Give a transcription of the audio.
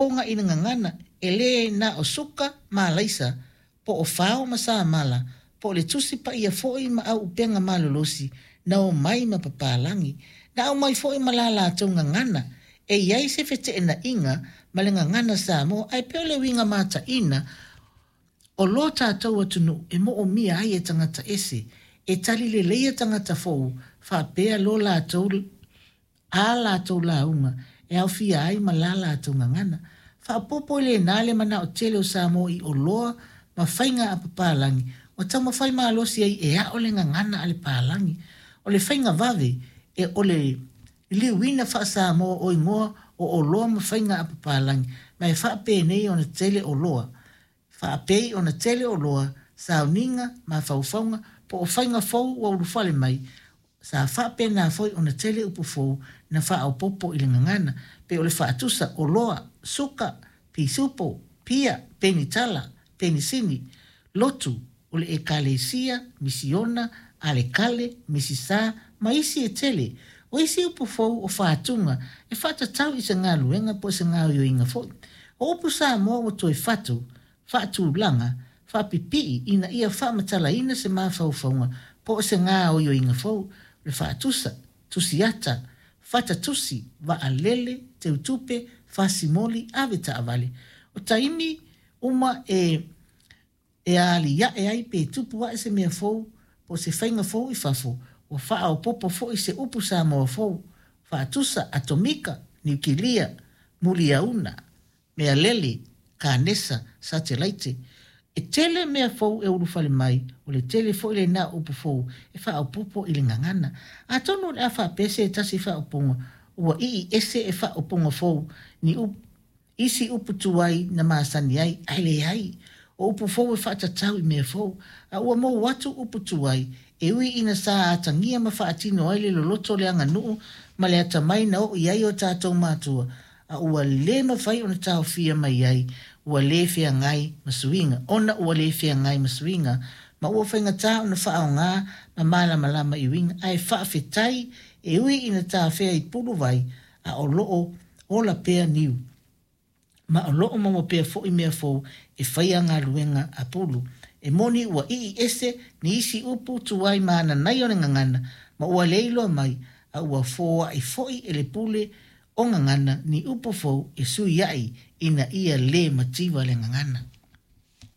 faaopoopoga i le gagana, e le na o suka ma alaisa, po o fao ma samala, po o le Tusi Paia foi ma auupega malolosi na omai ma papalagi, na aumai foi ma la latou gagana. E i ai se feteenaiga ma le gagana Samoa, ae pei o le uiga mataina o lo tatou atunuu e moomia ai e tagata ese, e tali leleia tagata fou faapea lo latou a latou lauga e aofia ai ma la latou gagana. Faaopoopo i lena le manao tele o Samoa i oloa ma faiga a papalagi ua taumafai malosi ai e ao le gagana a le palagi. O le faiga vave e o le liliuina faa-Samoa o igoa o oloa ma faiga a papalagi ma e faapenei ona tele oloa, faapei ona tele oloa, sauniga, mafaufauga po o faiga fou ua ulufale mai, sa faapena foi ona tele upu fou na faaopoopo i le gagana, pei o le faatusa, oloa, suka, pisupo, pia, penitala, penisini, lotu, o le Ekalesia, misiona, alekale, misisa, ma isi e tele. O isi upu fou o fatuga e faatatau i se galuega po o se gaoioiga foi. O upu Samoa ua toe fatu, faatulaga, faapipii ina ia faamatalaina se mafaufauga po o se gaoioiga fou, o le faatusa, tusiata, fatatusi, vaalele, teutupe, fasimoli, avetaavale. O taimi uma e e aliae ai pe tupu ae se mea fou po o se faiga fou i fafo, ua faaopoopo foi se upu Samoa fou, faatusa, atomika, niukilia, muliauna, mealele, kanesa, satelaite. E tele mea fou e ulufale mai, o le tele foi lena o upu fou e faaopoopo i le gagana. Atonu o le a faapea se tasi faaupuga ua ii ese e faaupuga fou ni upu isi upu tuai na masani ai, ae leai. O upu fou e faatatau i mea fou, a ua mou atu upu tuai, e ui ina sa atagia ma faatino ai le loloto o le aganuu ma le atamai na oo i ai o tatou matua, a ua le mafai ona taofia mai ai ua le feagai ma suiga, ona ua le feagai ma suiga, ma ua faigata ona faaaoga ma malamalama i uiga, ae faafetai e ui ina tafea i puluvai, a o loo ola pea niu, ma o loo maua pea foi mea fou e faia galuega a pulu. E moni ua ii ese ni isi upu tuai ma ananaia o le gagana, ma ua le iloa mai, a ua foai foi e le pule o gagana ni upu fou e sui ai ina ia le mativa le gagana.